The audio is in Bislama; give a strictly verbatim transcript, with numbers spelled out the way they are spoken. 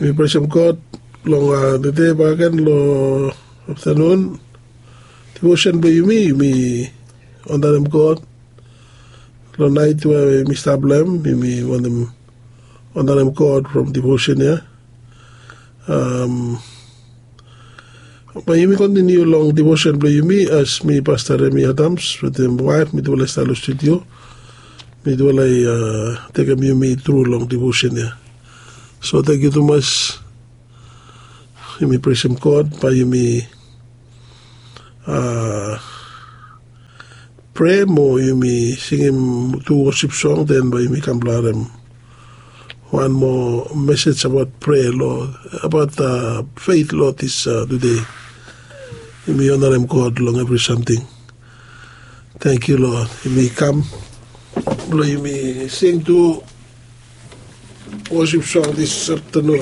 Mi presem God long tede bakagen long aftanun. Devosen blong yumi, yumi onarem God long nait we mi stap long em. Yumi wantem onarem God from devosen ya. Bae yumi kontiniu long devosen blong yumi as mi, Pasta Remi Adams, wetem waef mitufala i stap long studio. Mitufala i tekem yumi tru long devosen ya. So tangkiu tumas. Yumi presem God bae yumi prea mo yumi singim tu wosip song, den bae yumi kam blong harem wan moa mesej abaot prea long, abaot feit long dis tude. Yumi onarem God long evri samting. Tangkiu Lod, yumi kam blong yumi sing tu wosip song dis aftanun.